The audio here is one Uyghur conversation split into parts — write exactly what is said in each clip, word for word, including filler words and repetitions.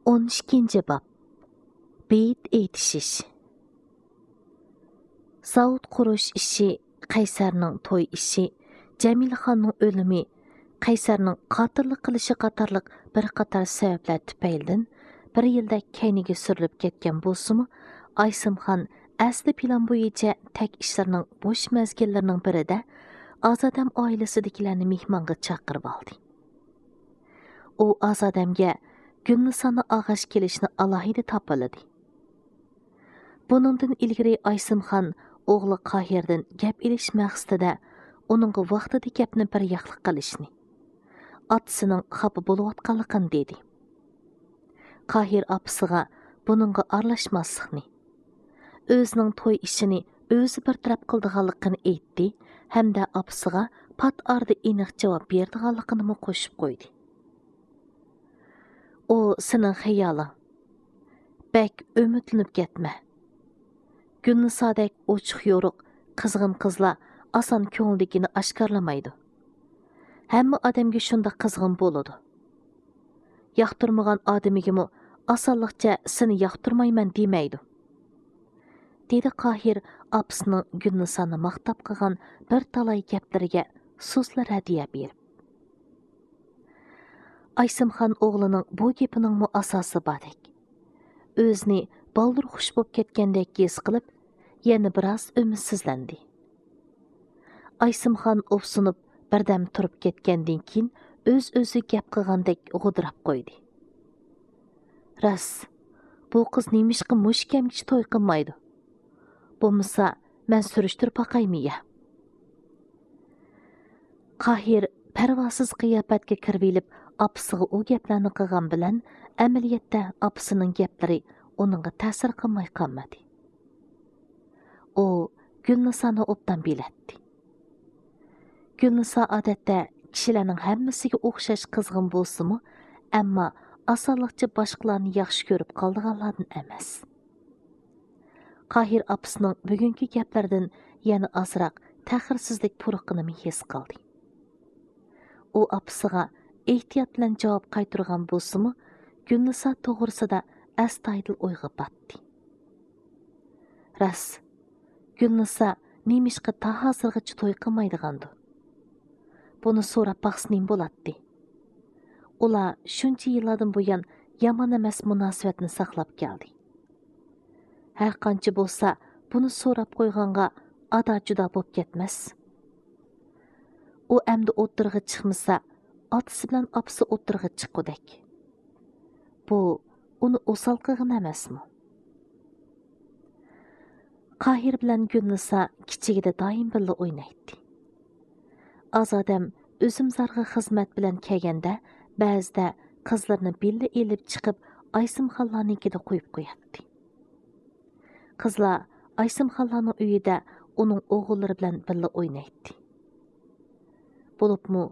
ئون ئىككىنچى باب. بېيىت ئېيتىشىش. زاۋۇت قۇرۇش ئىشى، قەيسەرنىڭ توي ئىشى، جەمىلىخاننىڭ ئۆلۈمى، قەيسەرنىڭ قاتىللىق قىلىشى قاتارلىق بىر قاتار سەۋەبلەر تۈپەيلىدىن بىر يىلدەك كەينىگە سۈرۈلۈپ كەتكەن بولسىمۇ، ئايسىمخان ئەسلى پىلان بويىچە تەك ئىشلىرىنىڭ بوش مەزگىللىرىنىڭ بىرىدە ئازادەم ئائىلىسىدىكىلەرنى مېھمانغا چاقىرىۋالدى. ئۇ ئازادەمگە گۈلنىسانى ئاغاش كېلىشنى ئالاھىدە تاپىلىدى. بۇنىڭدىن ئىلگىرى ئايسىمخان ئوغلى قاھىردىن گەپ ئېلىش مەقسىتىدە ئۇنىڭغا ۋاقتىدا گەپنى بىر ياقلىق قىلىشنى، ئاتىسىنىڭ خاپا بولۇۋاتقانلىقىنى دېدى. قاھىر ئاپىسىغا بۇنىڭغا ئارىلاشماسلىقنى، ئۆزىنىڭ توي ئىشىنى ئۆزى بىر تەرەپ قىلىدىغانلىقىنى ئېيتتى ھەمدە ئاپىسىغا پات ئارىدا ئېنىق جاۋاب بېرىدىغانلىقىنىمۇ قوشۇپ قويدى. ئۇ سېنىڭ خىيالىڭ. بەك ئۈمىدلىنىپ كەتمە. گۈلنىسادەك ئوچۇق يورۇق، قىزغىن قىزلار ئاسان كۆڭلىدىكىنى ئاشكارىلىمايدۇ. ھەممە ئادەمگە شۇنداق قىزغىن بولىدۇ. ياقتۇرمىغان ئادىمىگىمۇ ئاسانلىقچە سېنى ياقتۇرمايمەن دېمەيدۇ. دېدى قاھىر ئاپىسىنىڭ گۈلنىسانى ماختاپ قىلغان بىر تالاي گەپلىرىگە سۇسلا رەددىيە بېرىپ. ئايسىمخان ئوغلىنىڭ بۇ گېپىنىڭمۇ ئاساسى باردەك. ئۆزىنى بالدۇر خۇش بولۇپ كەتكەندەك ھېس قىلىپ، يەنە بىراز ئۈمىدسىزلەندى. ئايسىمخان ئوپسۇنۇپ، بىردەم تۇرۇپ كەتكەندىن كېيىن، ئۆز-ئۆزى گەپ قىلغاندەك غودىراپ قويدى. راست، بۇ قىز نېمىشقا مۇشۇ كەمگىچە توي قىلمايدۇ؟ بولمىسا، مەن سۈرۈشتۈرۈپ باقايمۇ يا؟ قاھىر پەرۋاسىز قىياپەتكە كىرىۋېلىپ، ئاپىسىغا ئۇ گەپلەرنى قىلغان بىلەن، ئەمەلىيەتتە ئاپىسىنىڭ گەپلىرى ئۇنىڭغا تەسىر قىلماي قالمىدى. ئۇ گۈلنىسانى ئوبدان بىلەتتى. گۈلنىسا ئادەتتە كىشىلەرنىڭ ھەممىسىگە ئوخشاش قىزغىن بولسىمۇ، ئەمما ئاسانلىقچە باشقىلارنى ياخشى كۆرۈپ قالىدىغانلاردىن ئەمەس. قاھىر ئاپىسىنىڭ بۈگۈنكى گەپلىرىدىن يەنە ئازراق تەخىرسىزلىك پۇرىقىنىمۇ ھېس قىلدى. ئۇ ئاپىسىغا ئېھتىيات بىلەن جاۋاب قايتۇرغان بولسىمۇ، گۈلنىسا توغرىسىدا ئەستايىدىل ئويغا پاتتى. راست، گۈلنىسا نېمىشقا تا ھازىرغىچە توي قىلمايدىغاندۇ؟ بۇنى سوراپ باقسا نېمە بولاتتى؟ ئۇلار شۇنچە يىللاردىن بۇيان يامان ئەمەس مۇناسىۋەتنى ساقلاپ كەلدى. ھەر قانچە بولسا، بۇنى سوراپ قويغانغا ئادا-جۇدا بولۇپ كەتمەس. ئۇ ئەمدى ئوتتۇرىغا چىقمىسا، ئاتىسى بىلەن ئاپىسى ئوتتۇرىغا چىققۇدەك. بۇ ئۇنى ئوسال قىلغىنى ئەمەسمۇ؟ قاھىر بىلەن گۈلنىسا كىچىكىدە دائىم بىللە ئوينايتتى. ئازادەم ئۈزۈمزارغا خىزمەت بىلەن كەلگەندە، بەزىدە قىزلىرىنى بىللە ئېلىپ چىقىپ، ئايسىمخانلارنىڭكىدە قويۇپ قوياتتى. قىزلار ئايسىمخانلارنىڭ ئۆيىدە ئۇنىڭ ئوغۇللىرى بىلەن بىللە ئوينايتتى. بولۇپمۇ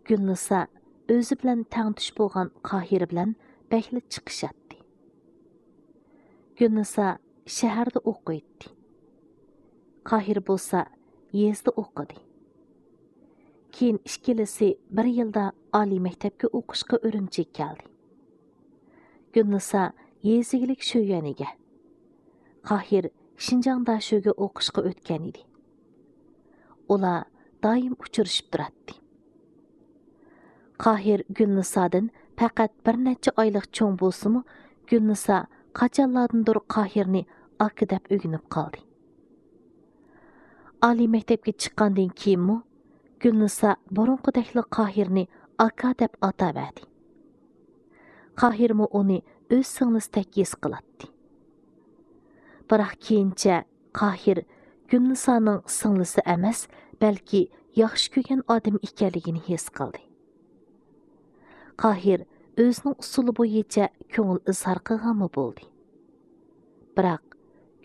گۈلنىسا ئۆزى بىلەن تەڭتۇش بولغان قاھىر بىلەن بەكلا چىقىشاتتى. گۈلنىسا شەھەردە ئوقۇيتتى. قاھىر بولسا يېزىدا ئوقۇدى. كېيىن ئىككىلىسى بىر يىلدا ئالىي مەكتەپكە ئوقۇشقا ئۈرۈمچىگە كەلدى. گۈلنىسا يېزا ئىگىلىك شۆيۈەنىگە، قاھىر شىنجاڭ داشۆگە ئوقۇشقا ئۆتكەن ئىدى. ئۇلار دائىم ئۇچرىشىپ تۇراتتى. قاھىر گۈلنىسادىن پەقەت بىر نەچچە ئايلىق چوڭ بولسىمۇ، گۈلنىسا قاچانلاردىندۇر قاھىرنى ئاكا دەپ ئۆگىنىپ قالدى. ئالىي مەكتەپكە چىققاندىن كېيىنمۇ گۈلنىسا بۇرۇنقىدەكلا قاھىرنى ئاكا دەپ ئاتاۋەردى. قاھىرمۇ ئۇنى ئۆز سىڭلىسىدەك ھېس قىلاتتى. بىراق كېيىنچە قاھىر گۈلنىسانىڭ سىڭلىسى ئەمەس، بەلكى ياخشى كۆرگەن ئادىمى ئىكەنلىكىنى ھېس قىلدى. قاھىر ئۆزىنىڭ ئۇسۇلى بويىچە كۆڭۈل ئىزھار قىلغانمۇ بولدى. بىراق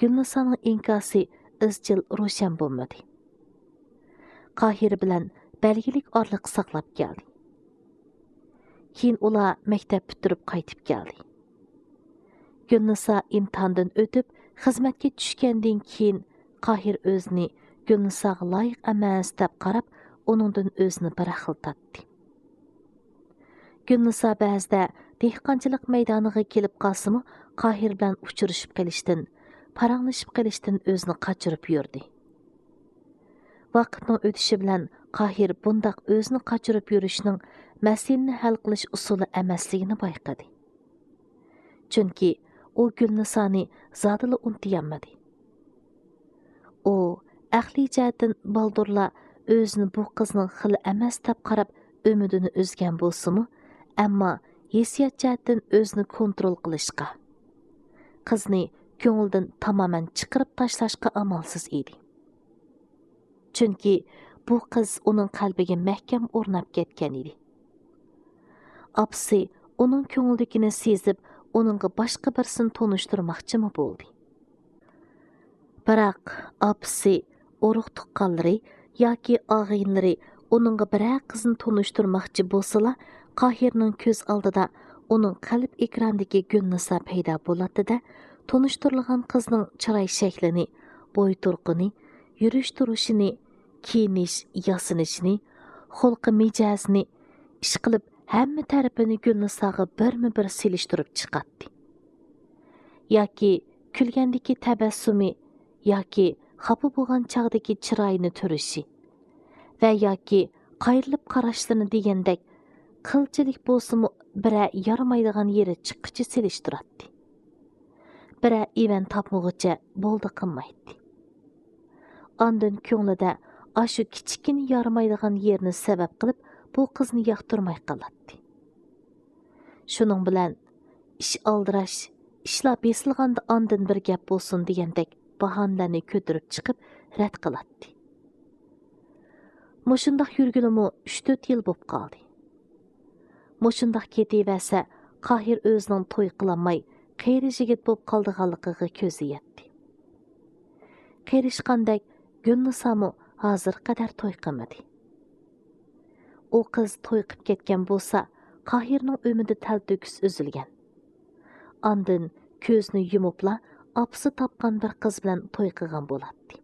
گۈلنىسانىڭ ئىنكاسى ئىزچىل روشەن بولمىدى. قاھىر بىلەن بەلگىلىك ئارىلىق ساقلاپ كەلدى. كېيىن ئۇلار مەكتەپ پۈتتۈرۈپ قايتىپ كەلدى. گۈلنىسا ئىمتىھاندىن ئۆتۈپ، خىزمەتكە چۈشكەندىن كېيىن، قاھىر ئۆزىنى گۈلنىساغا لايىق ئەمەس دەپ قاراپ، ئۇنىڭدىن ئۆزىنى بىراق خىل تارتتى. گۈلنىسا بەزىدە دېھقانچىلىق مەيدانىغا كېلىپ قالسىمۇ، قاھىر بىلەن ئۇچرىشىپ قېلىشتىن، پاراڭلىشىپ قېلىشتىن ئۆزىنى قاچۇرۇپ يۈردى. ۋاقىتنىڭ ئۆتۈشى بىلەن قاھىر بۇنداق ئۆزىنى قاچۇرۇپ يۈرۈشنىڭ مەسىلىنى ھەل قىلىش ئۇسۇلى ئەمەسلىكىنى بايقىدى. چۈنكى ئۇ گۈلنىسانى زادىلا ئۇنتۇيالمىدى. ئۇ ئەقلىي جەھەتتىن بالدۇرلا ئۆزىنى بۇ قىزنىڭ خىلى ئەمەس دەپ قاراپ ئۈمىدىنى ئۈزگەن بولسىمۇ، ئەمما ھېسسىيات جەھەتتىن ئۆزىنى كونترول قىلىشقا، قىزنى كۆڭلىدىن تامامەن چىقىرىپ تاشلاشقا ئامالسىز ئىدى. چۈنكى بۇ قىز ئۇنىڭ قەلبىگە مەھكەم ئورناپ كەتكەن ئىدى. ئاپىسى ئۇنىڭ كۆڭلىدىكىنى سېزىپ، ئۇنىڭغا باشقا بىرسىنى تونۇشتۇرماقچىمۇ بولدى. بىراق ئاپىسى، ئۇرۇق-تۇغقانلىرى ياكى ئاغىنىلىرى ئۇنىڭغا بىرەر قىزنى تونۇشتۇرماقچى بولسىلا، قاھىرنىڭ كۆز ئالدىدا ئۇنىڭ قەلب ئېكرانىدىكى گۈلنىسا پەيدا بولاتتى-دە، تونۇشتۇرۇلغان قىزنىڭ چىراي شەكلىنى، بوي تۇرقىنى، يۈرۈش تۇرۇشىنى، كىيىنىش ياسىنىشىنى، خۇلقى مىجەزىنى، ئىشقىلىپ ھەممە تەرىپىنى گۈلنىساغا بىرمۇ بىر سېلىشتۇرۇپ چىقاتتى. ياكى كۈلگەندىكى تەبەسسۇمى، ياكى خاپا بولغان چاغدىكى چىرايىنى تۈرۈشى ۋە ياكى قايرىلىپ قاراشلىرىنى دېگەندەك قىلچىلىك بولسىمۇ بىرەر يارىمايدىغان يېرى چىققىچە سېلىشتۇراتتى. بىرەر ئىۋەن تاپمىغۇچە بولدى قىلمايتتى. ئاندىن كۆڭلىدە ئاشۇ كىچىككىنە يارىمايدىغان يېرىنى سەۋەب قىلىپ بۇ قىزنى ياقتۇرماي قالاتتى. شۇنىڭ بىلەن ئىش ئالدىراش، ئىشلار بېسىلغاندا ئاندىن بىر گەپ بولسۇن دېگەندەك باھانىلەرنى كۆتۈرۈپ چىقىپ رەت قىلاتتى. مۇشۇنداق يۈرگىلىمۇ ئۈچ تۆت يىل بوپ قالدى. مۇشۇنداق كېتىۋەرسە، قاھىر ئۆزىنىڭ توي قىلالماي، قېرى يىگىت بوپ قالىدىغانلىقىغا كۆزى يەتتى. قېرىشقاندەك گۈلنىسامۇ ھازىرغا قەدەر توي قىلمىدى. ئۇ قىز توي قىپ كەتكەن بولسا، قاھىرنىڭ ئۈمىدى تەلتۆكۈس ئۈزۈلگەن. ئاندىن كۆزىنى يۇمۇپلا ئاپىسى تاپقان بىر قىز بىلەن توي قىلغان بولاتتى.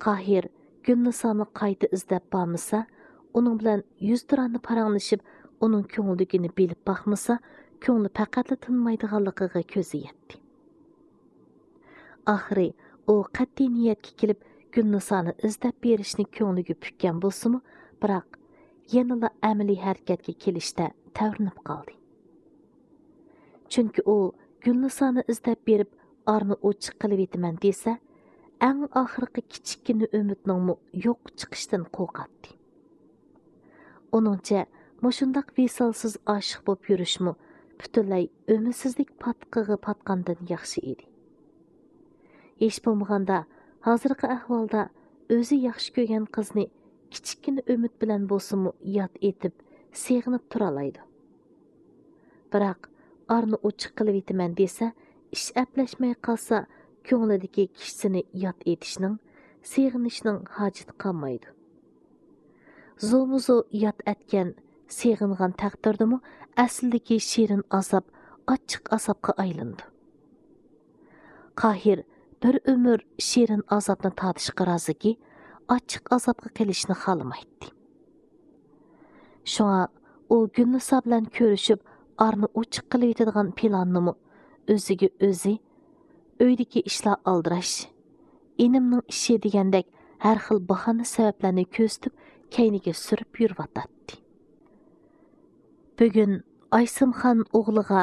قاھىر گۈلنىسانى قايتا ئىزدەپ بارمىسا، ئۇنىڭ بىلەن يۈزتۇرانە پاراڭلىشىپ، ئۇنىڭ كۆڭلىدىكىنى بىلىپ باقمىسا، كۆڭلى پەقەتلا تىنمايدىغانلىقىغا كۆزى يەتتى. ئاخىرى ئۇ قەتئىي نىيەتكە كېلىپ، گۈلنىسانى ئىزدەپ بېرىشنى كۆڭلىگە پۈككەن بولسىمۇ، بىراق يەنىلا ئەمەلىي ھەرىكەتكە كېلىشتە تەۋرىنىپ قالدى. چۈنكى ئۇ گۈلنىسانى ئىزدەپ بېرىپ، ئارنى ئوچۇق قىلىۋېتىمەن دېسە، ئەڭ ئاخىرقى كىچىككىنە ئۈمىدنىڭمۇ يوققا چىقىشىدىن قورقاتتى. ئۇنىڭچە، مۇشۇنداق ۋىسالسىز ئاشىق بولۇپ يۈرۈشمۇ پۈتۈنلەي ئۈمىدسىزلىك پاتقىقىغا پاتقاندىن ياخشى ئىدى. ھېچ بولمىغاندا، ھازىرقى ئەھۋالدا ئۆزى ياخشى كۆرگەن قىزنى كىچىككىنە ئۈمىد بىلەن بولسىمۇ ياد ئېتىپ، سېغىنىپ تۇرالايدۇ. بىراق، ئارنى ئوچۇق قىلىۋېتىمەن دېسە، ئىش ئەپلەشمەي قالسا، كۆڭلىدىكى كىشىسىنى ياد ئېتىشنىڭ، سېغىنىشنىڭ ھاجىتى قالمايدۇ. زورمۇزور ياد ئەتكەن، سېغىنغان تەقدىردىمۇ ئەسلىدىكى شېرىن ئازاب ئاچچىق ئازابقا ئايلىنىدۇ. قاھىر بىر ئۆمۈر شېرىن ئازابنى تارتىشقا رازىكى، ئاچچىق ئازابقا قېلىشنى خالىمايتتى. شۇڭا ئۇ گۈلنىسا بىلەن كۆرۈشۈپ، ئارىنى ئوچۇق قىلىۋېتىدىغان پىلاننىمۇ ئۆزىگە ئۆزى، ئۆيدىكى ئىشلار ئالدىراش، ئىنىمنىڭ ئىشى دېگەندەك ھەر خىل باھانە سەۋەبلەرنى كۆرسىتىپ، كەينىگە سۈرۈپ يۈرۈۋاتاتتى. بۈگۈن ئايسىمخان ئوغلىغا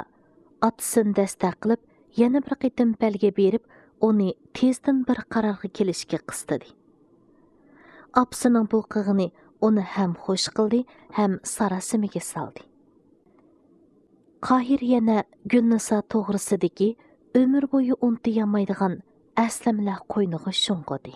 ئاتىسىنى دەستەك قىلىپ، يەنە بىر قېتىم بەلگە بېرىپ، ئۇنى تېزدىن بىر قارارغا كېلىشكە قىستىدى. ئاپىسىنىڭ بۇ قىلغىنى ئۇنى ھەم خۇش قىلدى، ھەم ساراسىمىگە سالدى. قاھىر يەنە گۈلنىسا توغرىسىدىكى ئۆمۈر بويى ئۇنتۇيالمايدىغان ئەسلىمىلەر قوينىغا شۇڭغۇدى.